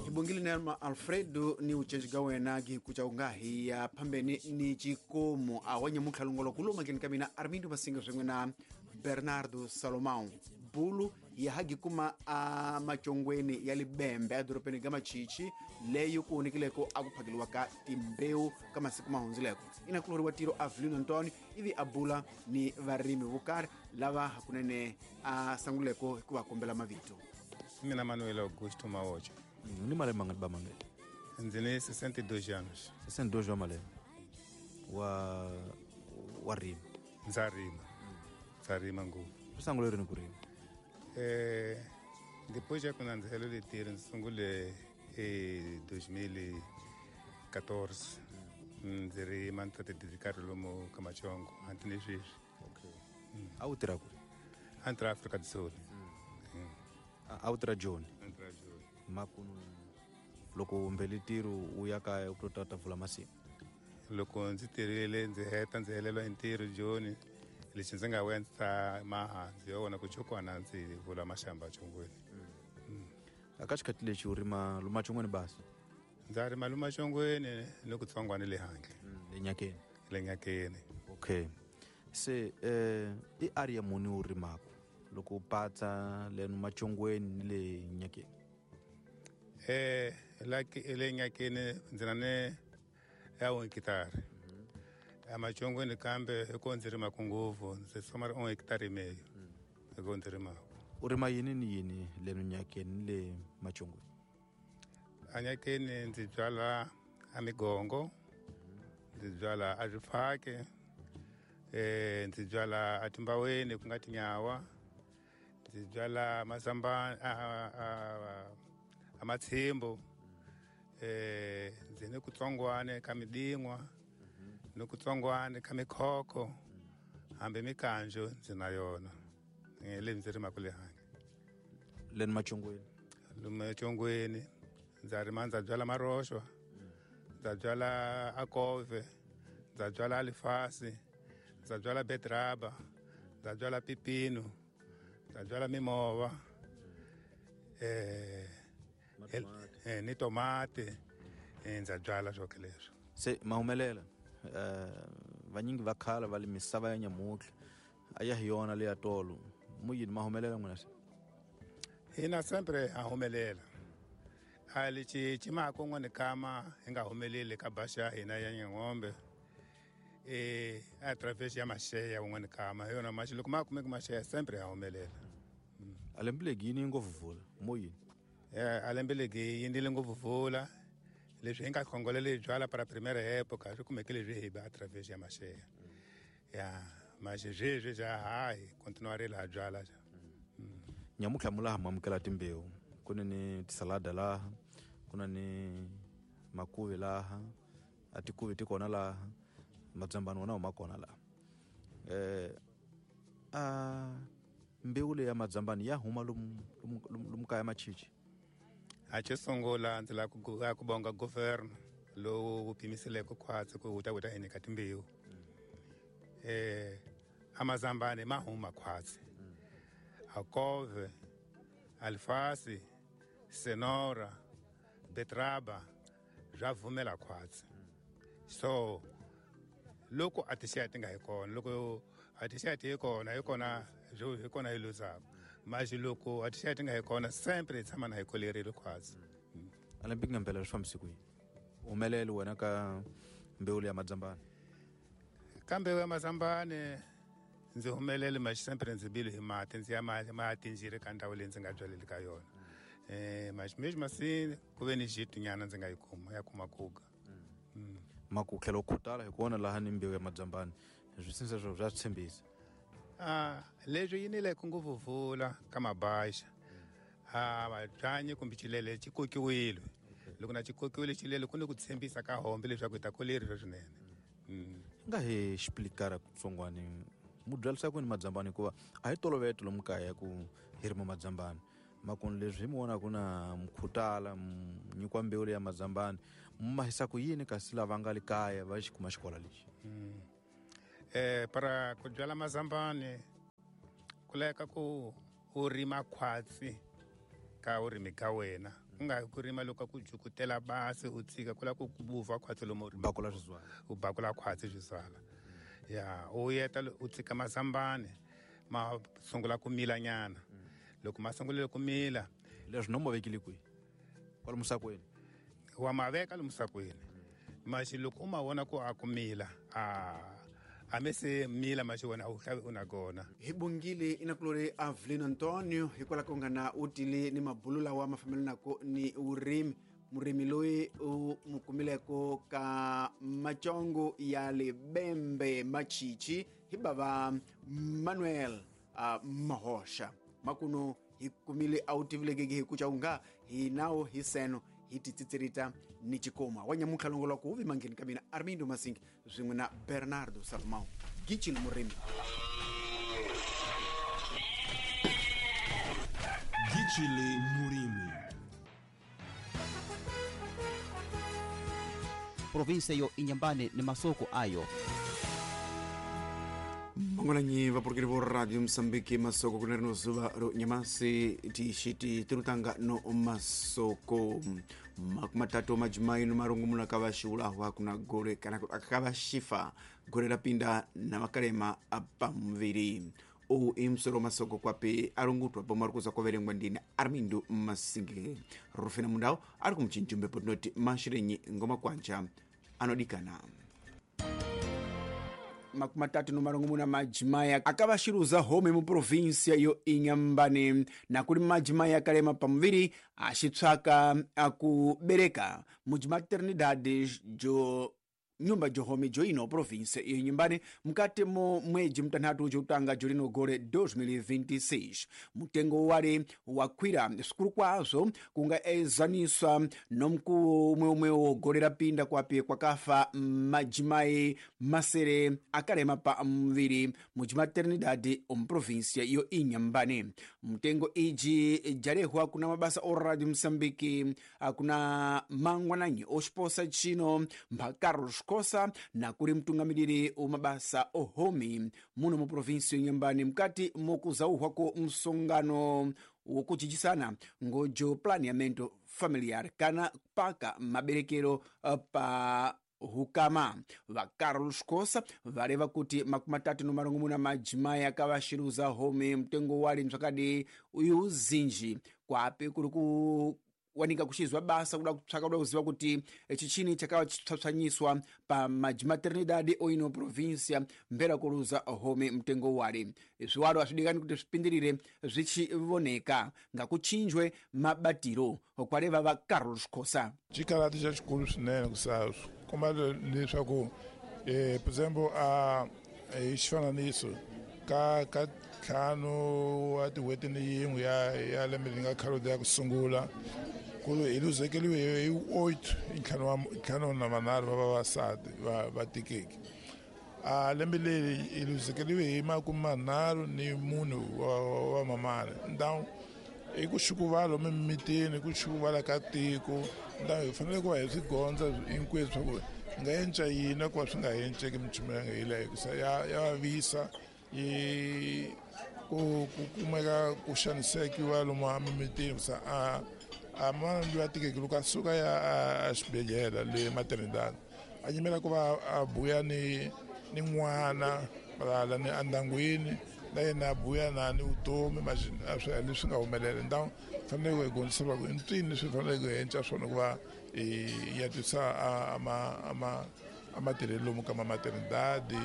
Ibongile Nelma Alfredo ni ucenji ga wena gikucha ungahi ya phambeni ni chikomo awanye mukhalongolo kuluma kini kamina Armindo Masinga swin'we na Bernardo Salomão bulu ya hagikuma a machongweni ya libembe a dorobeni ga machichi leyi ku hunikileko a ku phakeliwa ka timbewu ka masiku ma hundzileko ina kuloriwa tiro Avelino Antonio ivi a bula ni varimi vo karhi lava hakunene a sanguleko hi ku va kombela mavito. Mina Manuel Augusto Maocha. Ni malembe mangani ba Manuel? Ndzi ni 62 anos. 62 wa malembe. Wa rima. Ndza rima. Ndza rima ngopfu. U sungule rini ku rima? Depois ya ku nandzihelo letiri ndzi sungule hi 2014. Ndzi rima ndzi ta ti lomu ka Machongo hanti ni sweswi. Okay. A wu tirha kwihi? A ni tirha Afrika do Sul. A wu tirha Joni? A ni tirha Joni. Makunu loko mbele ntirho u ya kaya u ta vula masimu. Loko ndzi tirhile ndzi heta ndzi heleliwa hi ntirho Joni lexi ndzi nga vuya ndzi ta maha ndzi yo vona ku chokwana ndzi vula maxamba chongweni. Aka xikhathi lexi u rima lumachongweni basi? Ndza rima lumachongweni ni ku tsongwana le handle. Le nyakeni. Le nyakeni. Okay. Se i area muni u rimaka loko u patsa le machongweni ni le nyakeni? Like le nyakeni ndzi na ni ya 1 hectare. Amachongweni kambe hiko ndzi rimaka ngopfu ndzi tshama ri 1 hectare meyo. Hiko ndzi rimaka. U rima yini ni yini le nyakeni ni le machongweni? Anyakeni ndzi byala a migongo, ndzi byala a swifaki, ndzi byala a timbaweni ku nga tinyawa, ndzi byala mazambani a matshimbu, ndzi ni kutsongwane ka midingwa, ni kutsongwane ka mikhokho, hambi mikanjo ndzi na yona. Le ndzi rimaka le handle. Le machongweni? Le machongweni ndza rima ndza byala maroxwa, ndza byala akove, ndza byala alifasi, ndza byala betraba, ndza byala pipino, ndza byala mimova, ni tomate, ndza byala swoke leswo. Se mahumelela vanyingi va khala va le misava ya nyamutlha a ya hi yona leya tolo mu yini mahumelela n'wina se? Hina sempre a humelela. A lexi xi maka un'wana kama hi nga humeleli ka baxa ya hina ya Nyang'ombe a traverse ya maxeya un'wana kama hi yona maxi loko ma kumeki maxeya sempre ha humelela. A lembe legi yini ngopfu vula mo yini? A lembe legi yi ndile ngopfu vula leswi hi nga khongolela hi byala para primera época swi kumeke leswi hi ba a traverse ya maxeya. Ya maxi sweswi xa hayi continuarile ha byala xa. Nyamutlha mulaha mamukela timbewu. Ku na ni tisalada laha, ku na ni makuvi laha, a tikuvi ti kona laha, madzambani wona ma kona laha. A mbewu leyi ya madzambani ya huma lomu kaya machichi? A xo sungula ndzi lava ku bonga governor lowu wu pimiseleke khwatsi ku wu ta wu ta hi nyika timbewu. A mazambani ma huma khwatsi. Akove, alfasi, senora, betraba swa vumela khwatsi. So loko a tixaya ti nga hi kona, loko a tixaya ti hi kona, hi kona hi kona hi luzaka. Maxi loko a tixaya ti nga hi kona sempre hi tshama na hi kolerile khwatsi. A lembe nga mpela swi fambise ku yini? Humelele wena ka mbewu ya madzambani? Ka mbewu ya mazambani ndzi humelele maxi sempre ndzi bile hi mati ndzi ya mati ndzi ri ka ndhawu leyi ndzi nga byaleli ka yona. Maxi mexi masi ku ve ni xitunyana ndzi nga yi kuma ya kuma kuga. Maku tlhela u khutala hi kona laha ni mbewu ya madzambani swi sinsa swo swa tshembisa. Leswi yinile ku ngopfu vula ka mabaxa. Mabyanyi kumbe xilele xi kokiwile. Loko na xi kokiwile xilele ku ni ku tshembisa ka hombe leswaku hi ta koleriwa swinene. Nga hi explikara kutsongwani mu byalisa ku ni madzambani hikuva a hi tolovete lomu kaya ku hi rima madzambani. Makunu leswi hi mi vonaka na mukhutala nyikiwa mbewu leya madzambani mu mahisa ku yini kasi lava nga le kaya va xi kuma xikola lexi? Para ku byala mazambani ku laveka ku u rima khwatsi. Ka vurimi ka wena ku nga ku rima loko ku jukutela basi u tshika ku lava ku vupfa khwatsi lomu u bakula swizwala u bakula khwatsi swizwala ya u yeta u tshika mazambani ma sungula ku mila nyana loko ma sungulile ku mila leswi no ma vekile kwihi kwala musakweni wa ma veka lomu musakweni maxi loko u ma vona ku a ku mila a me se mila maxi wena a wu hlavi u na kona hi bongile inakulori Avelino Antonio hikwalaho ko nga na u tile ni mabulu lawa ma fambelanaka ni vurimi murimi loyi u mu kumileko ka macongo ya lebembe machichi hi bava Manuel Mahoxa makuno hi kumile a wu tivilekeke hi kuca unga hi nawo hi seno hi titsitserita ni chikoma wa nyamuntlha longoloko wu vi mangheni ka mina Armindo Masingi swin'we na Bernardo Salomão Gichini murimi Gichile Murimi. Provinsia yo Inhambane ni masoko ayo. Mangwananyi vapurukeli vo Radio Msambiki masoko kuna rino zuva ro nyamasi tixiti tirutanga no masoko makumatatu majimai no marungumuna kavaxiulahwa kuna gole kana akavaxifa gole rapinda na makalema apamuviri uwu i musoro masoko kwapi arungutwa pomwe ari kuza kuverengwa ndini Armindo Masingi Rufina Mundau ari kumuchinjumbepo tinoti mashirenyi ngoma kwanja anodikana 36 majimai akavaxiruza home muprovinsia yo Inhambane nakuli majimai akalema pamuviri axipsaka akubereka mujimaternidade jo nyumba johome joino provinsia iyo Inhambane mukati mo mwedzi mtanthatu jotanga jolino gole 2026 mutengo wale wakwira sikulu kwazo kunga ezaniswa nomkuwo umweumwe gole rapinda kwapi kwakafa majimai masere akalema pa muviri mujimaternidade omuprovinsia iyo Inhambane mtengo iji jalehwa kuna mabasa o Radio Msambiki kuna mangwananyi oxiposa chino mpha Carlos Kosa na kuli mtungamiriri umabasa ohomi muno mu provinsi Inhambane mukati mokuzauhwa ko msongano wokuchichisana ngojo planeamento familiar kana paka maberekero pa hukama va Carlos Kosa vareva kuti 36 majimai akavaxiruza home mtengo wali msakadi uyu zinji kwapi kuli ku wanika kuxizwa basa kuda kupsaka kuda kuziva kuti chichini chakawa chipsapsanyiswa pa majimaternidade oino provinsia mbera kuluza home mtengo wale zwiwalo aswidikani kuti swipindirire zwichivoneka ngakuchinjwe mabatiro kwaleva va Carlos Kosa xikarati xa xikulu swinene kusa komba leswaku por example a hi xifananiso ka ntlhanu wa tin'hweti ni yin'we ya lembe leri nga khalodi ya ku sungula ku hi luzekeriwe hi 8 hi ntlhanu na manharhu va vavasati va tikeke a lembe leri hi luzekeriwe hi 34 wa mamana ndawu i ku xukuvala mimitini ku xukuvala ka tiko ndawu hi fanele ku va hi swi gondza hinkweswo swa ku hi nga enca yini ku va swi nga enceki minchumu ya nga yi hikusa ya vavisa yi ku kumeka ku xanisekiwa lomu emimitini kusa a mana loyi a tikeke loko a suka ya a xibedhlele le maternidad a yimela ku va a buya ni n'wana valala ni endyangwini na yena a buya na ni vutomi leswi nga humelela ndhawu fanele ku hi gondzisa ku i ncini leswi faneleke hi enca swona ku va hi ya twisa amatirhelo lomu ka mamaternidade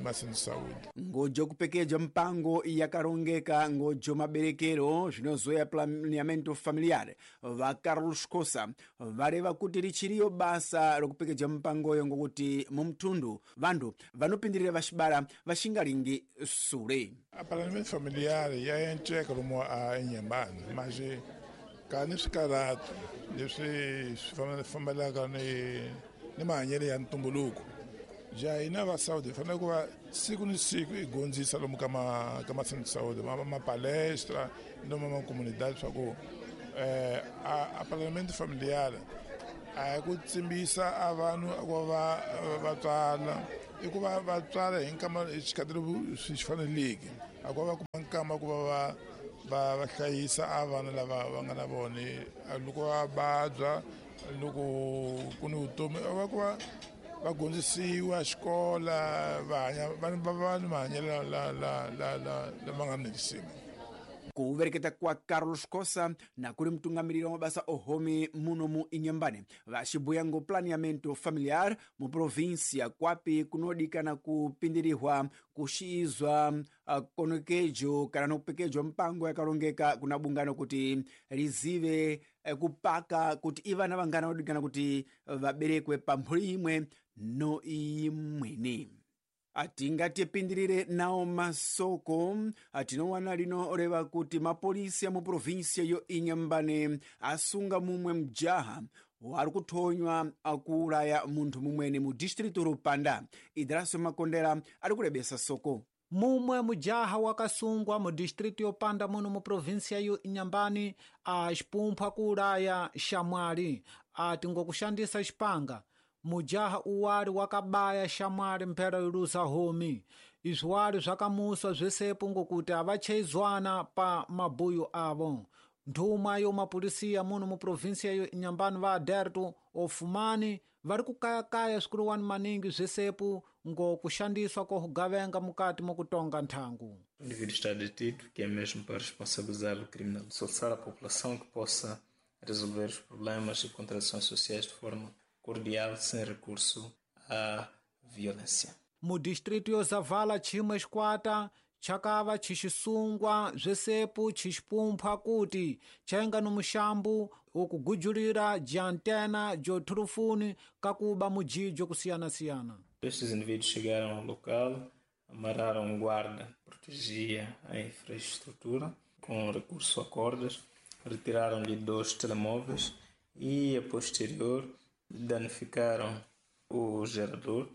masensaudi ngojo kupekeja mpango yakarongeka ngojo maberekero zvinozoya planeamento familiar va Carlos Kosa vareva kuti richiriyo basa rokupekeja mpangoyo ngokuti mumtundu vantu vanopindirira vaxibara vaxingalingi sule a planeamento familiar ya enceka lomu a Inhambane mas ka ni swikarhato leswi swi fambelaka ni mahanyelo ya ntumbuluko ja hina va Saudi hi fanele ku va siku ni siku hi gondzisa lomu ka masensaudi mapalestra lomu makomunidade swa ku a parlamento familiar a hi ku tsimbisa a vanhu ku va va tswala i ku va va tswala hi nkama hi xikhathi swi faneleke a ku va va kuma nkama ku va Va hlayisa a vana lava va nga na vona loko va vabya, loko ku ni vutomi va ku va dyondzisiwa xikola, va hanya va ni mahanyelo lama nga ni risima. Kuvereketa kwa Carlos Cossa na kuli mtungamiriri wa mabasa ohomi muno mu Inhambane vaxibuya ngo planeamento familiar mu província kwapi kunodikana kupindirihwa kuxizwa konokejo kana nokupekejwa mpango yakalongeka kuna bungano kuti lizive kupaka kuti ivana vangana vadikana kuti vaberekwe pa mphuli imwe no imweni. Atingatipindirire nawo masoko atinowana lino leva kuti mapolisi ya mu província yo Inhambane asunga mumwe mjaha wari kuthonywa akuulaya munthu mumwene mu distrito Rupanda. Idraso Makondera ari kulebesa soko. Mumwe mujaha wakasungwa mu distrito yopanda muno mu província yo Inhambane axipumphwa kuulaya xamwali ati ngokushandisa xipanga. Mujaha uwali wakabaya xamwali mphera yolusa homi. Izwi wali zwakamuswa zwesepo ngokuti avacheizwana pa mabuyo avo. Nthumwa yo mapulisiya muno mu província yo Inhambane va Aderto Ofumani vari kukayakaya swikuluwani maningi zwesepo ngokushandiswa kokugavenga mukati mokutonga nthangu. O indivíduo está detido, que é mesmo para responsabilizar o criminal, solicitar a população que possa resolver os problemas e contradições sociais de forma cordial, sem recurso à violência. Mu distrito yo Zavala chimwe xikwata chakava chixisungwa zwesepo chixipumphwa kuti chaenga no muxambu wokugujulira diantena jothulufuni kakuba mujijo kusiyana-siyana. Estes indivíduos chegaram ao local, amarraram um guarda que protegia a infraestrutura com recurso a cordas, retiraram-lhe 2 telemóveis e, a posterior, danificaram o gerador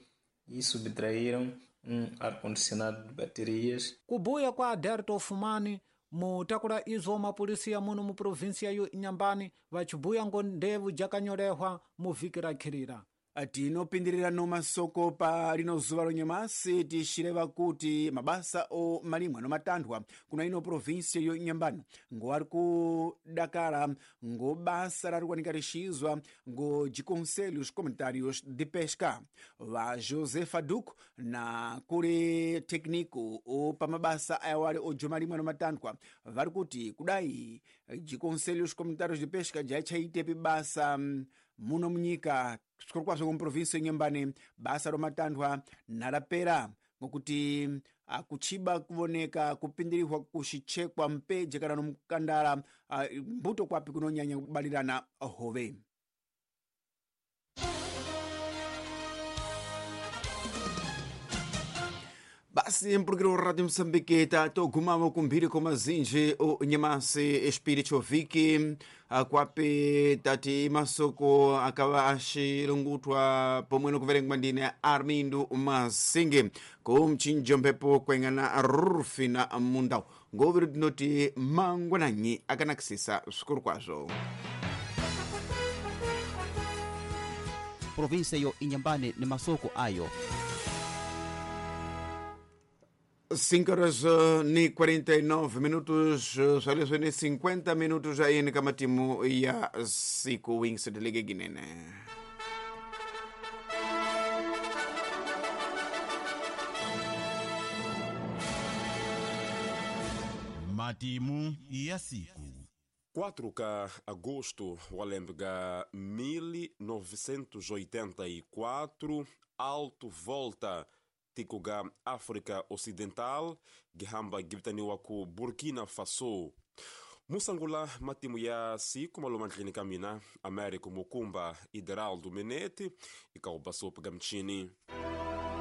e subtraíram um ar-condicionado de baterias. Kubuya kwa Aderto Ofumani mutakula izo mapolisiya muno mu província yo Inhambane vachibuya ngo ndevu jakanyolehwa mu vhiki rakhirira. Tinopindirira no masoko pa lino zuva lonyamasi tixireva kuti mabasa o malimwa no matanthwa kuna ino província yo Inhambane ngo ari kudakala ngo basa rari kuwanika lixizwa ngo diconselhos comunitários de pesca. Va José Faduco na kuli técnico o pa mabasa ayawali ojo malimwa no matanthwa vari kuti kudai diconselhos comunitários de pesca jachaitepi basa muno munyika sikulukwazvo ku província Inhambane basa romatanthwa nalapera ngokuti akuchiba kuvoneka kupindirihwa kuxichekwa mpeje kana nomukandala mbuto kwapi kunonyanya kubalirana hove. Basi mpulukiro wa Radio Moçambique tatogumamo kumphiri kwa mazinji o nyamasi espírito viki kwapi tati masoko akava axilungutwa pomwe nokuverengwa ndine Armindo Masinge kumchinjo mphepo kuengana Rufina Mundau ngoviri tinoti mangwananyi akanakisisa swikulu kwazvo. Província yo Inhambane ni masoko ayo. 5 horas e 49 minutos, só ni 50 minutos aí ni kama timu ya siku Wings de Liga Guinene. Matimu ya siku 4 ka agosto walembega 1984 Alto Volta tikuga África Ocidental gihamba gibitaniwa ku Burkina Faso. Musangula matimu ya siku malumandlini kamina Américo Mukumba Ideraldo Menete ikaubasopa gamchini.